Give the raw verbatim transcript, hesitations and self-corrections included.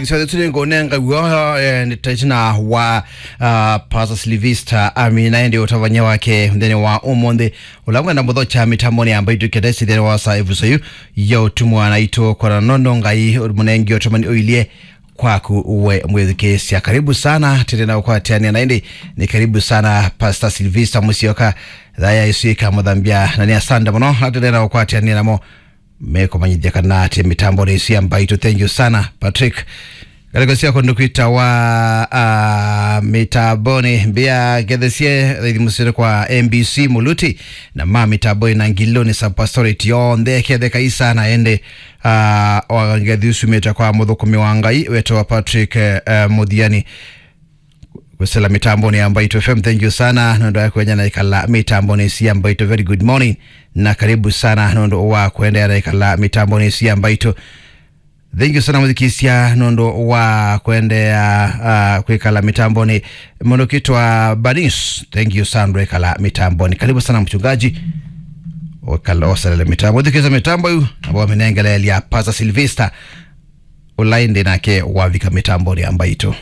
Sio tuli ngonenga guo, eh, nĩ taitina wa, ah, Pastor Sylvester Amina, ĩndĩ ũtavany'a wake nthĩnĩ wa ũmũnthĩ. Ũla ngwenda mũthokya mĩtambonĩ ya Mbaitũ kĩtesi nthĩnĩ wa saa ĩvuso yu ya ũtumwa na itũ kwana nono Ngai mũnengi ũtũmani ũilyĩ kwaku we mwĩthukĩĩsya. Karibu sana, tĩrĩ na ũkwatĩanĩa na ĩndĩ nĩ karibu sana Pastor Sylvester Musyoka, thaya ĩsu ĩkamũthambya na nĩ asante mũno, na tĩrĩ na ũkwatĩanĩa namo mekũmanyithya kana atĩ mĩtambonĩ ĩsu ya Mbaitũ. Thank you sana, Patrick. Ngalĩko sya kũndũ kwĩtawa, ah, mĩtambonĩ mbĩa ngethesie thaithi mũsĩnĩ kwa M B C Muluti na ma mĩtambonĩ na Ngiloni Subpastorate yonthe ketheka isana ende, ah, wa ngethi usumĩte kwa mũthũkũmi wa Ngai wetawa Patrick, eh, eh, Mũthiani. Kwĩsĩla mĩtambonĩ ya Mbaitũ F M, thank you sana nũndũ wa kwenya na ikala mĩtambonĩ ĩsu ya Mbaitũ. Very good morning na karibu sana nũndũ wa kũendeea na ikala mĩtambonĩ ĩsu ya Mbaitũ. Thank you sana mũthikĩĩsya nũndũ wa kũendeea, ah, kwĩkala mĩtambonĩ. Mũndũ ũkĩtwa Banis, thank you sana nũndũ wa kwĩkala mĩtambonĩ. Karibu sana mchungaji. Ũkala oselele mĩtambo. Mũthikĩĩsya mĩtambo yu, ambao mĩnengeleelya Pastor Sylvester. Ũla ĩndĩ nake wavika mĩtambonĩ ya Mbaitũ.